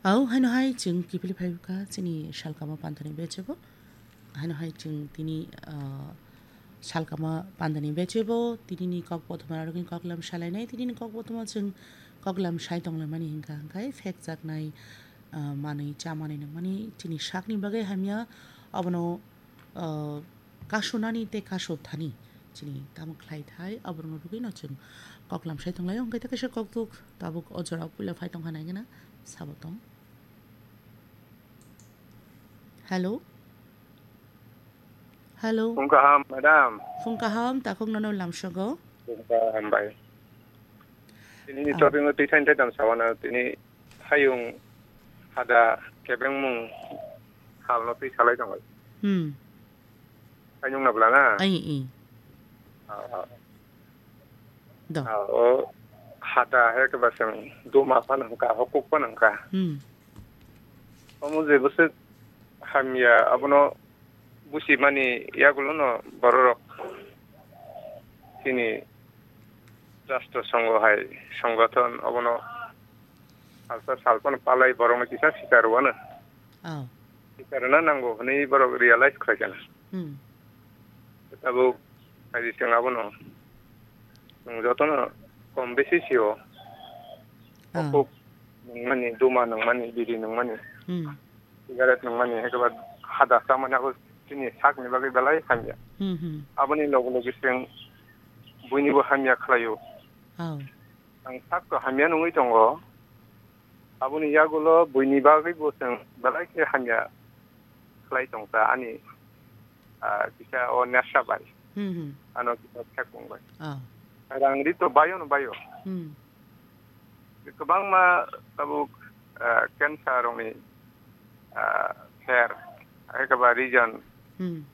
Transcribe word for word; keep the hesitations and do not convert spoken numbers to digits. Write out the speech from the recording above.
Au, haino hai chwng kiphilwi phai kha chini salkama pandani bechebo. Haino hai chwng tini, ah, salkama pandani bechebo, tinini kok bothoma rokni koklam salainai, tinini kok bothoma chwng koklam sai tonglaimani hinkha, hwnkhe phekjaknai, ah, manwi chamanwi nangmani chini sakni bagwi hamya, abono ah, kasunani tei kasu thani chini tamo khlai thai, aborokno rwgwino chwng koklam sai tonglaio, hwnkhe ta kaisa kokthuk tabuk o jorao puila phai tongkha naigwna sabo tong. Hello? Hello? Phung kaham, madam. Phung kaham, takhuk nono lamsogo. Phung kaham bai. Tini Ah. topic no twi thaini thai dam sawana tini hayung hada kebengmung halno twi salai tongo. Hmm. Hayung na bwla na? Ai, i. Ah, ah. Do. Ah, o hada he keba seng duma pa nangka, hokuk pa nangka. Hmm. Omo je bwswk hamya abono buchimani yagulono bororok chini Rashtra Sangho hai songothon obono salsa salphano palai borokno kisa sikar rwano. Oh. Sikar rwna nango hwnwi borok realize khlai kana. Hmm. Tabuk phaidi chwng abono chwng jotono kom besi sio. Oh. Hokuk nungmani, duma nungmani, biri nungmani. Hmm. Cigarette nungmani, ekeba hada chamani abo chini sakni bagwi belai hamya. Hmm, hmm. Aboni loge loge chwng buinibo hamya khlaio. Oh. Ang sakto hamya nungwi tongo. Aboni yagulo buini bagwi bo chwng belai khe hamya khlai tongsa ani, ah, kisa o nesha bai. Hmm, hmm. Ano kisa thekong bai. Oh. Rang ri to bayo no bayo. Hmm. Kwbangma tabuk, ah, cancer rokni, ah, her, ekeba reason Hmm.